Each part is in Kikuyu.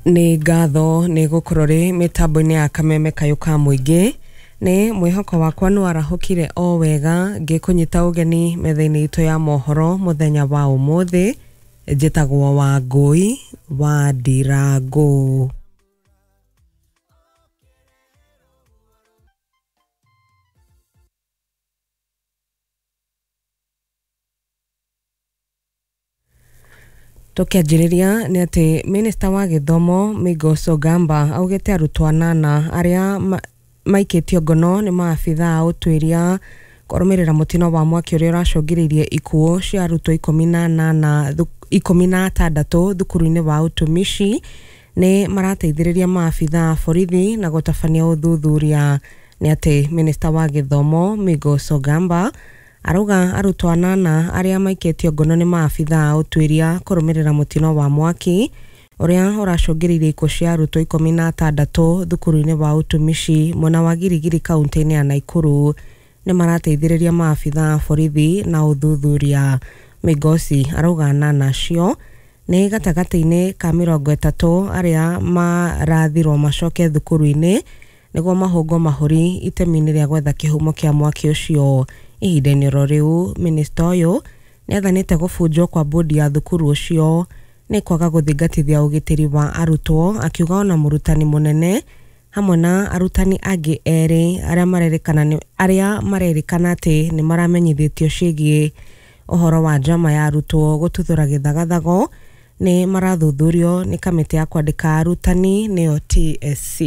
Nĩ ngatho nĩ gũkorwo rĩ mĩtambo-inĩ ya kameme kayũ ka mũingĩ. Nĩ mwĩhoko wakwa nĩ warahũkire o wega ngĩkũnyita ũgeni metha-inĩ itũ ya mohoro mũthenya wa ũmũthĩ. Njĩtagwo Wangũi wa Ndirangũ. Tũkĩanjĩrĩria nĩ atĩ minista wa gĩthomo Migos Ogamba augĩte arutwo anana arĩa maikĩtio ngono nĩ maabithaa a ũtuĩria kũrũmĩrĩra mũtino wa mwaki ũrĩa ũracũngĩrĩirie ikuũ cia arutwo 16 thukuru-inĩ wa ũtumishi nĩ marateithĩrĩria maabithaa a borithi na gũtabania ũthuthuria. Nĩ atĩ minista wa gĩthomo Migos Ogamba arauga arutwo anana arĩa maikĩtio ngono nĩ maabithaa a ũtuĩria kũrũmĩrĩra mũtino wa mwaki ũrĩa ũracũngĩrĩirie ikuũ cia arutwo 16 thukuru-inĩ wa ũtumishi mwena wa Girigiri kaunti-inĩ ya Naikuru nĩ marateithĩrĩria maabithaa a borithi na ũthuthuria. Migosi arauga anana acio nĩ gatagatĩ-inĩ ka 30 arĩa marathirwo macoke thukuru-inĩ nĩguo mahũngwo mahũri itemi-inĩ rĩa gwetha kĩhumo kĩa mwaki ũcio. Ihinda-inĩ oro rĩu minista ũyũ nĩ athanĩte gũbunjwo kwa bodi ya thukuru ũcio nĩ kwaga gũthingatithia ũgitĩri wa arutwo, akiuga ona mũrutani mũnene hamwe na arutani angĩ erĩ arĩa marerĩkana atĩ nĩ maramenyithĩtio ciĩgiĩ ũhoro wa njama ya arutwo gũtuthũra gĩthagathago nĩ marathuthurio nĩ kamĩtĩ ya kwandĩka arutani nĩyo TSC.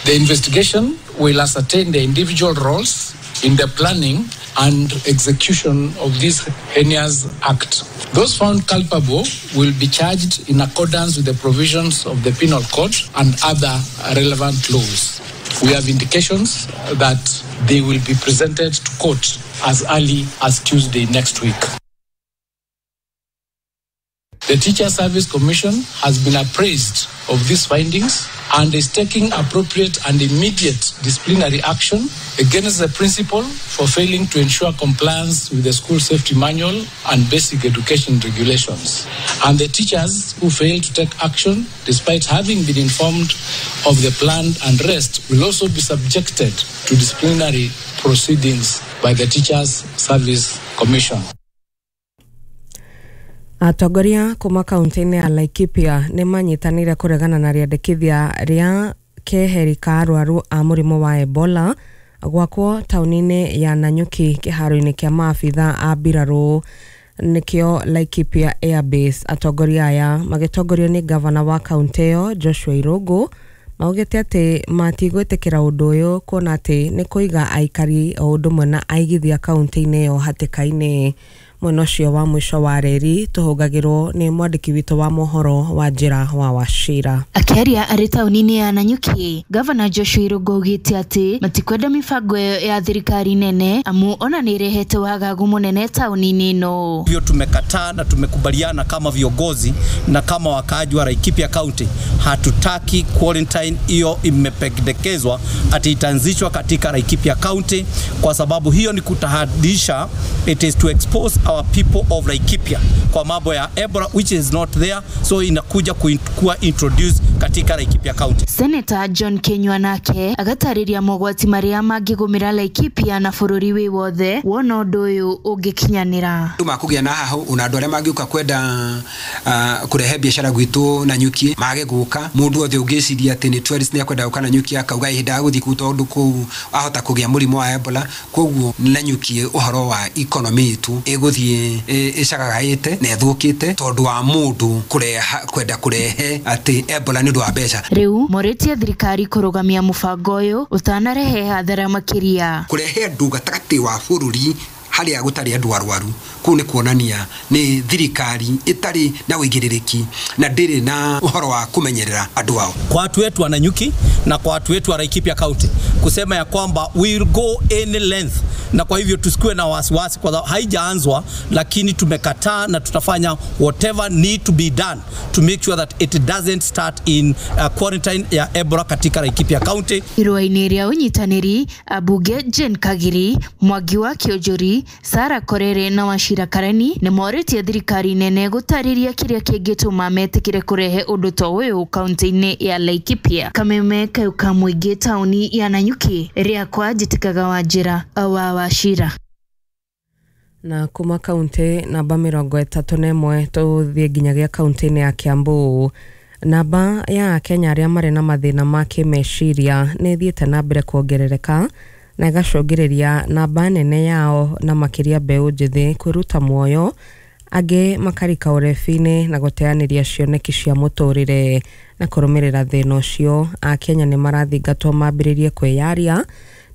The investigation will ascertain the individual roles in the planning and execution of this heinous act. Those found culpable will be charged in accordance with the provisions of the Penal Code and other relevant laws. We have indications that they will be presented to court as early as Tuesday next week. The Teacher Service Commission has been appraised of these findings and is taking appropriate and immediate disciplinary action against the principal for failing to ensure compliance with the school safety manual and basic education regulations, and the teachers who fail to take action despite having been informed of the planned unrest will also be subjected to disciplinary proceedings by the Teachers Service Commission. Atongoria kuma kaunti-inĩ ya Laikipia nĩ manyitanĩire kũregana na rĩendekithia rĩa keheri ka arwaru a mũrimũ wa Ebola gwakwo taũni-inĩ ya Nanyuki kĩharo-inĩ kĩa maabithaa a mbirarũ nĩkĩo Laikipia Air Base. Atongoria aya magĩtongorio nĩ gavana wa kaunti ĩyo Joshua Irũngũ maugĩte atĩ matigwĩtĩkĩra ũndũ ũyũ kuona atĩ nĩ kũiga aikari o ũndũ ũmwe na aigithia kaunti-inĩ ĩyo hatĩka-inĩ. Mwena ũcio wa mũico wa reri tũhũngagĩrwo nĩ mwandĩki witũ wa mohoro wa njĩra wa Wachira. Akĩaria arĩ taũni-inĩ ya Nanyuki, Gavana Joshua Irũngũ augĩte atĩ matikwenda mĩbango ĩyo ya thirikari nene amu ona nĩ ĩrehete wagagu mũnene taũni-inĩ ĩno. Hivyo tumekataa na tumekubaliana kama viongozi na kama wakaaji wa Laikipia County, hatutaki quarantine hiyo imependekezwa ati itaanzishwa katika Laikipia County, kwa sababu hiyo ni kutahadisha, it is to expose our people of Laikipia kwa mambo ya Ebola which is not there, so inakuja kuwa introduced katika Laikipia County. Senator John Kenywa nake agatarĩria mogwati marĩa mangĩgũmĩra Laikipia na bũrũri wĩ wothe wona ũndũ ũyũ ũngĩkinyanĩra. Andũ makũgĩa na haho ona andũ arĩa mangĩũka kwenda kũrehe biacara gwitũ Nanyuki mage gũka. Mũndũ wothe ũngĩciria atĩ nĩ tourist nĩ akwenda gũka Nanyuki akauga ihinda gũthiĩ kũu tondũ kũu ahota kũgĩa mũrimũ wa Ebola. Koguo Nanyuki ũhoro wa economy itũ ĩgũthiĩ ĩcagagaĩte na ĩthũkĩte tondũ wa mũndũ kwenda kũrehe atĩ Ebola nĩ ũndũ wa mbeca. Rĩu morĩtie thirikari kũrũgamia mũbango ũyũ ũtanarehe hathara makĩria. Kũrehe andũ gatagatĩ wa bũrũri harĩa gũtarĩ andũ arwaru kũu nĩ kuonania nĩ thirikari ĩtarĩ na ũigĩrĩrĩki na ndĩrĩ na ũhoro wa kũmenyerera andũ ao. Kwa watu wetu wa Nanyuki na kwa watu wetu wa Laikipia County kusema ya kwamba we will go any length, na kwa hivyo tusikue na wasiwasi kwa haijaanzwa, lakini tumekataa na tutafanya whatever need to be done to make sure that it doesn't start in quarantine ya Ebola katika Laikipia County. Irũa-inĩ rĩa ũnyitanĩri, ambunge Jane Kagiri, Mwangi wa Kĩonjori Sara Korere na Wachira Karani nĩ morĩtie thirikari nene gũtarĩria kĩrĩa kĩngĩtũma metĩkĩre kũrehe ũndũ ta ũyũ kaunti-inĩ ya Laikipia. Kameme kayũ ka mũingĩ taũni ya Nanyuki, rĩakwa njĩtĩkaga Wanjĩra wa Wachira. Na kuma kaunti namba 31 tũthiĩ nginyagia kaunti-inĩ ya Kiambu. Namba ya Akenya arĩa marĩ na mathĩna ma kĩmeciria nĩ ĩthiĩte na mbere kuongerereka na ĩgacũngĩrĩria namba nene yao na makĩria mbeũ njĩthĩ kwĩruta muoyo, angĩ makarika ũrebi-inĩ na gũteanĩria cioneki cia mũtũrĩre. Na kũrũmĩrĩra thĩna ũcio, Akenya nĩ marathingatwo mambĩrĩrie kwĩyaria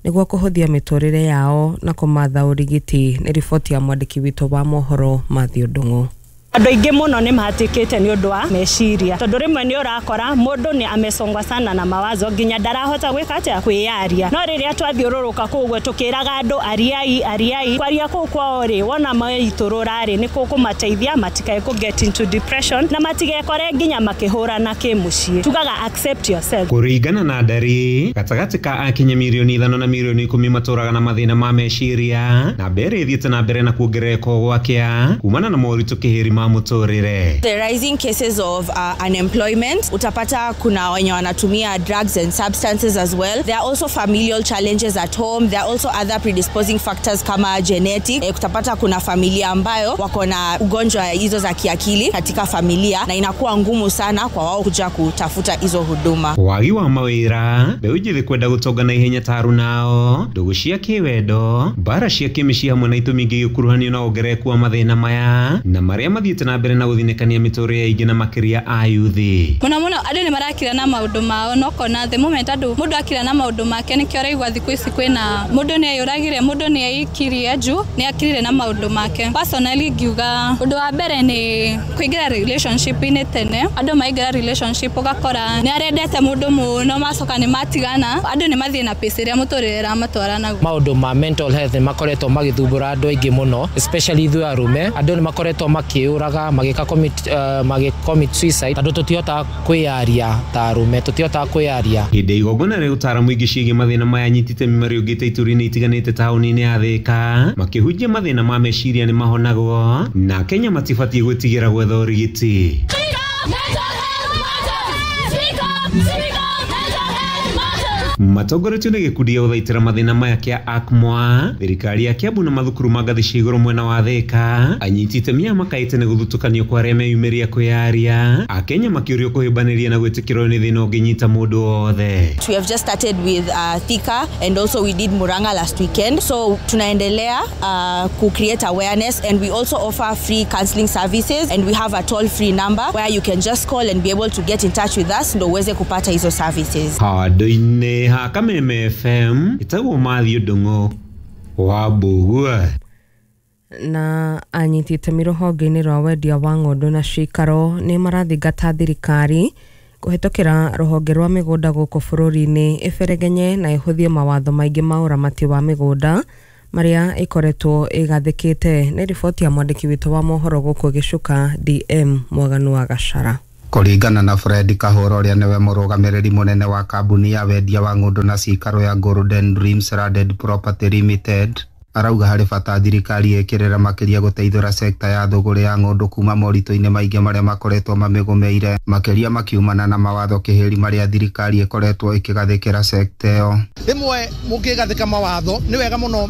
nĩguo kũhũthia mĩtũrĩre yao na kũmatha ũrigiti. Nĩ riboti ya mwandĩki witũ wa mohoro Matthew Ndung'u. Andũ aingĩ mũno nĩ mahatĩkĩte nĩ ũndũ wa meciria, tondũ rĩmwe nĩ ũrakora mũndũ nĩ amesongwa sana na mawazo nginya ndarahota gwĩka atĩa, kwĩyaria. No rĩrĩa twathiũrũrũka kũu ũguo tũkĩraga andũ ariai ariai, kwaria kũu kwao rĩ, wona maitũrũra rĩ, nĩ kũkũmateithia matikae kũ get into depression na matigekore nginya makĩhũrana kĩmũciĩ. Tugaga accept yourself. Kũringana na ndari, gatagatĩ ka Akenya mirioni 5 na mirioni 10 matũraga na mathĩna ma meciria, na mbere ĩthiĩte na mbere na kuongerereka gwakĩa kumana na moritũ kĩhĩri ma mũtũrĩre. The rising cases of unemployment, utapata kuna wenye wanatumia drugs and substances as well. There are also familial challenges at home. There are also other predisposing factors kama genetic. Utapata kuna familia ambayo wako na ugonjwa hizo za kiakili katika familia na inakuwa ngumu sana kwa wao kuja kutafuta hizo huduma. Wagi wa mawĩra, mbeũ njĩthĩ kwenda gũtonga na ihenya ta arunao, ndũgũ cia kĩwendo, mbara cia kĩmĩciĩ hamwe na itũmi ingĩ igĩkuruhanio na wongerereku wa mathĩna maya na marĩa mathiĩte na mbere na gũthinĩkania mĩtũrĩre ya aingĩ na makĩria a yuthi. Mũno mũno andũ nĩ marakira na maũndũ mao, no kona the moment andũ mũndũ akira na maũndũ make nĩkĩo ũraigua thikũ ici kwĩna mũndũ nĩ eyũragire, mũndũ nĩ eikirie juu nĩ akirire na maũndũ make. Personally ngiuga ũndũ wa mbere nĩ kũingĩra relationship-inĩ tene. Andũ maingĩra relationship ũgakora nĩ arendete mũndũ mũno, macoka nĩ matigana, andũ nĩ mathiĩ na pace ĩrĩa mũtũrĩre ĩramatwara naguo. Maũndũ ma mental health nĩ makoretwo magĩthumbũra andũ aingĩ mũno, especially ithuĩ arũme. Andũ nĩ makoretwo makĩũraga, magĩka commit suicide, tondũ tũtihotaga kwĩyaria ta arũme, tũtihotaga kwĩyaria. Hĩndĩ ya igongona rĩa ũtaara mũingĩ ciĩgiĩ mathĩna maya, anyiti itemi marĩũngĩte ituri-inĩ itiganĩte taũni-inĩ ya Thĩka makĩhunjia mathĩna ma meciria nĩ mahonagwo na Kenya matibatiĩ gwĩtigĩra gwetha ũrigiti. Matongoretio nĩ gĩkundi gĩa gũthaitĩra mathĩna maya kĩa ACMWA, thirikari ya Kiambu na mathukuru ma ngathĩ cia igũrũ mwena wa Thĩka, anyiti itemi aya makaĩte nĩ gũthutũkanio kwa arĩa meyumĩria kwĩyaria, Akenya makĩũrio kũhĩmbanĩria na gwĩtĩkĩrwo nĩ thĩna ũngĩnyita mũndũ wothe. We have just started with Thika and also we did Murang'a last weekend. So tunaendelea ku create awareness, and we also offer free counseling services, and we have a toll free number where you can just call and be able to get in touch with us ndo uweze kupata hizo services. Handũ-inĩ ha Kameme FM ĩtagwo Matthew Ndung'u wa Mbugua. Na anyiti itemi rũhonge-inĩ rwa wendia wa ng'ondu na cikaro nĩ marathingata thirikari kũhetũkĩra rũhonge rwa mĩgũnda gũkũ bũrũri-inĩ ĩberegenye na ĩhũthie mawatho maingĩ ma ũramati wa mĩgũnda marĩa ĩkoretwo ĩgathĩkĩte. Nĩ riboti ya mwandĩki witũ wa mohoro gũkũ Gĩcuka DM Mwaganu wa Gacara. Kũringana na Fred Kahũra ũrĩa nĩwe mũrũgamĩrĩri mũnene wa kambuni ya wendia wa ng'ũndũ na cikaro ya Golden Dreams Landed Property Limited, arauga harĩ bata thirikari ĩkĩrĩra makĩria gũteithũra sekta ya thũgũrĩ ya ng'ũndũ kuma moritũ-inĩ maingĩ marĩa makoretwo mamĩgũmĩire, makĩria makiumana na mawatho kĩhĩri marĩa thirikari ĩkoretwo ĩkĩgathĩkĩra sekta ĩyo. Rĩmwe mũkĩgathĩka mawatho nĩ wega mũno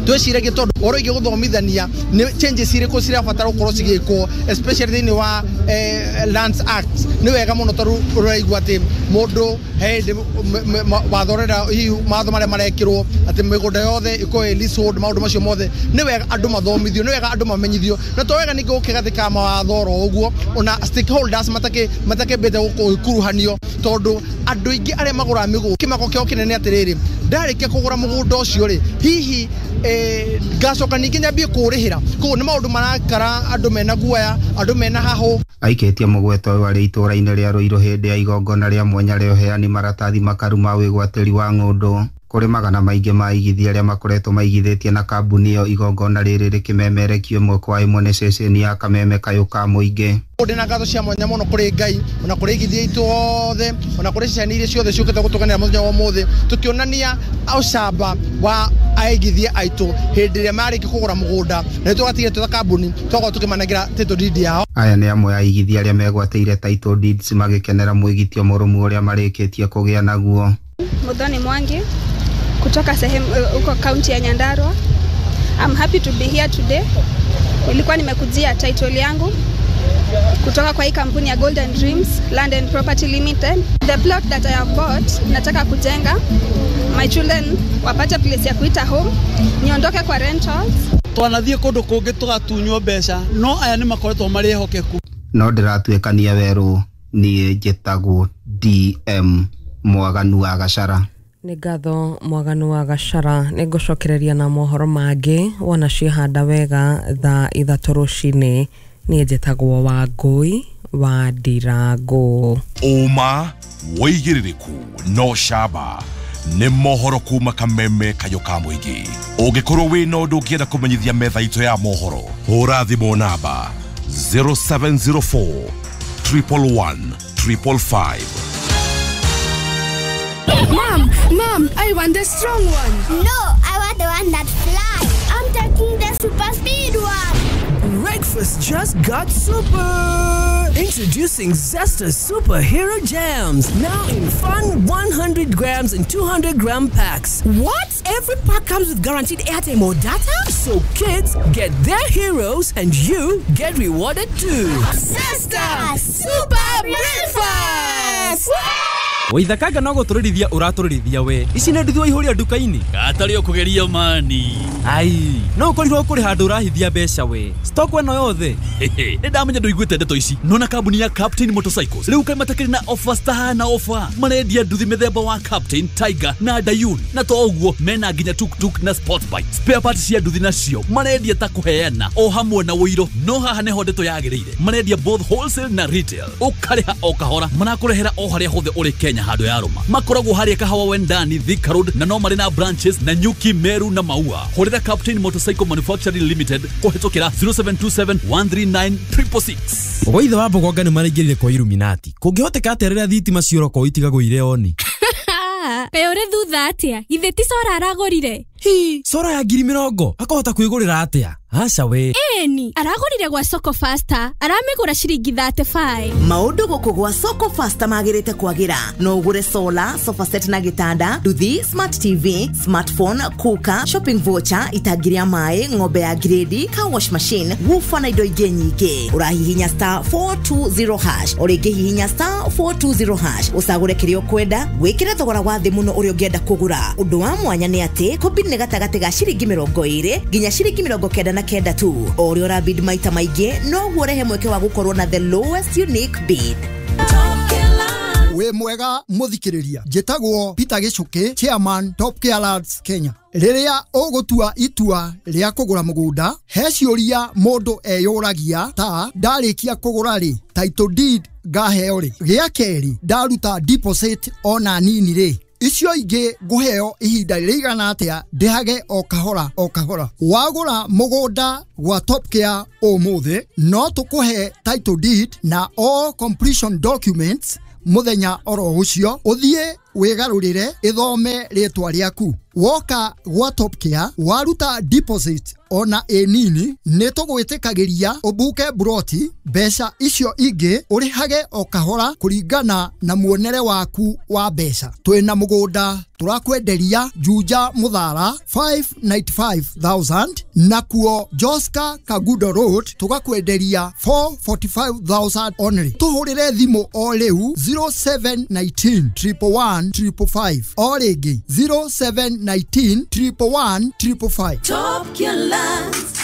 twĩciragie tondũ ũhoro wĩgiĩ gũthomithania nĩ changes irĩkũ cirabatara gũkorwo cigĩkwo, especially thĩinĩ wa Lands Act. Nĩ wega mũno tondũ ũraigua atĩ mũndũ he hĩndĩ watho ũrenda hihi mawatho marĩa marekĩrwo atĩ mĩgũnda yothe ĩkorwo ĩ leasehold, maũndũ macio mothe nĩ wega andũ mathomithio, nĩ wega andũ mamenyithio, na to wega ningĩ gũkĩgathĩka mawatho oro ũguo ona stakeholders matakĩambĩte gũkuruhanio, tondũ andũ aingĩ arĩa magũraga mĩgũnda kĩmako kĩao kĩnene atĩrĩrĩ, ndarĩkia kũgũra mũgũnda ũcio rĩ, hihi ngacoka ningĩ nyambie kũũrĩhĩra. Koguo nĩ maũndũ marakara andũ mena guoya, andũ mena hahũ. Aikĩtie mũgweto ũyũ arĩ itũũra-inĩ rĩa Ruiru hĩndĩ ya igongona rĩa mwanya rĩa ũheani maratathi makaru ma wĩgwatĩri wa ng'ũndũ Kũrĩ magana maingĩ ma aigithia arĩa makoretwo maigithĩtie na kambuni ĩyo igongona rĩrĩ rĩkĩmemerekio ĩmwe kwa ĩmwe nĩ ceceni ya Kameme Kayũ ka Mũingĩ. Ndĩna ngatho cia mwanya mũno kũrĩ Ngai ona kũrĩ aigithia aitũ othe ona kũrĩ ceceni iria ciothe ciũkĩte gũtũganĩra mũthenya wa ũmũthĩ tũkĩonania ũcamba wa aigithia aitũ hĩndĩ ĩrĩa marĩkia kũgũra mũgũnda na nĩ tũgatigĩra twĩ ta kambuni twakorwo tũkĩmanengera title deed yao. Aya nĩ amwe a aigithia arĩa megwatĩire title deeds magĩkenera mwĩgitio mũrũmu ũrĩa marĩkĩtie kũgĩa naguo. Muthoni Mwangi kutoka sehemu huko kaunti ya Nyandarua. I'm happy to be here today. Nilikuwa nimekujia title yangu kutoka kwa hii kampuni ya Golden Dreams Land and Property Limited. The plot that I have bought, nataka kujenga my children wapate place ya kuita home, niondoke kwa rentals. Twanathie kundu kungi tugatunywo mbeca no aya ni makoretwo mari ehokeku. No ndiratuikania weru nie njitagwo DM Mwaganu wa Gachara. Nĩ ngatho Mwaganu wa Gachara. Nĩ ngũcokereria na mohoro mangĩ wona ciehanda wega thaa 3 rũcinĩ. Niĩ njĩtagwo Wangũi wa Ndirango. Ũma wĩigĩrĩrĩku no camba nĩ mohoro kuma Kameme Kayũ ka Mũingĩ. Ũngĩkorwo wĩna ũndũ ũngĩenda kũmenyithia metha itũ ya mohoro, hũra thimũ namba 0704 111 555. Mom, I want the strong one. No, I want the one that flies. I'm taking the super speed one. Breakfast just got super. Introducing Zesta Superhero Jams, now in fun 100 grams and 200 gram packs. What? Every pack comes with guaranteed airtime or data? So kids get their heroes and you get rewarded too. Zesta Super Breakfast! Waithakanga no gũtũrĩrithia ũratũrĩrithia we. Ici nĩ nduthi waihũria nduka-inĩ. Gatarĩ ũkũgeria mani. Ai, no ũkorirwo kũrĩ handũ ũrahithia mbeca we. Stock ĩno yothe. Nĩ ndamenya ndũiguĩte ndeto ici. Nona kambuni ya Captain Motorcycles rĩu kaĩ matakĩrĩ na offers tahana offer. Marendia nduthi mĩthemba wa Captain, Tiger na Dayun. Na to ũguo mena nginya tuktuk na sport bike. Spare parts cia nduthi nacio marendia ta kũheana o hamwe na ũiro. No haha nĩho ndeto yagĩrĩire. Marendia both wholesale na retail. Ũkarĩha o kahora. Marakũrehera o harĩa hothe ũrĩ Kenya handũ ya rũma. Makoragwo harĩa Kahawa Wendani, Thika Road, na no marĩ na branches na Nyuki, Meru na Maua. Hũrĩra Captain Motorcycle Manufacturing Limited kũhĩtũkĩra 0727 139 666. Gwaithe wa Mbogonga nĩ maraingĩrire kwa Illuminati. Kũngĩhoteka atĩa rĩrĩa thitima ciora kwao itigagwo irĩ oni? Kaĩ ũrĩ thutha atĩa? Githĩ ti Sora aragũrire? Hi, Sora ya 20,000 akahota kwĩgũrĩra atĩa? Aca we. Ĩni, aragũrire gwa Soko Faster, aramĩgũra ciringi 35. Maũndũ gũkũ gwa Soko Faster magĩrĩte kwagĩra. No ũgũre solar, sofa set na gĩtanda, nduthi, smart TV, smartphone, cooker, shopping voucher, itangi rĩa maĩ, ng'ombe ya grade, car wash machine, woofer na indo ingĩ nyingĩ. Ũrahihinya star 420 hash, o rĩngĩ hihinya star 420 hash, ũcagũre kĩrĩa ũkwenda, wĩkĩre thogora wa thĩ mũno ũrĩa ũngĩenda kũgũra. Ũndũ wa mwanya nĩ atĩ kũbid nĩ gatagatĩ ga ciringi 20 nginya ciringi 99 tu. O ũrĩa ũrabid maita maingĩ noguo ũrehe mweke wa gũkorwo na the lowest unique bid. Wĩ mwega mũthikĩrĩria, njĩtagwo Peter Gĩcũkĩ, chairman Top Care Lands Kenya. Rĩrĩa ũgũtua itua rĩa kũgũra mũgũnda, he ciũria mũndũ eyũragia ta ndarĩkia kũgũra rĩ, title deed ngaheo rĩ, gĩa kerĩ ndaruta deposit ona nini rĩ, icio ingĩ ngũheo ihinda rĩigana atĩa ndĩhage o kahora o kahora. Wagũra mũgũnda gwa Top Care ũmũthĩ, no tũkũhe title deed na all completion documents mũthenya oro ũcio, ũthiĩ wĩgarũrĩre ĩthome rĩtwa rĩaku. Woka gwa Top Care waruta deposit ona ĩ nini, nĩ tũgwĩtĩkagĩria ũbuke buroti, mbeca icio ingĩ ũrĩhage o kahora kũringana na muonere waku wa mbeca. Twĩna mũgũnda tũrakwenderia Juja Mũthara 595,000, nakuo Joska Kagudo Road tũgakwenderia 445,000 only. Tũhũrĩre thimũ o rĩu 0719 111 555, o rĩngĩ 0719 111 555. Top Care Lands.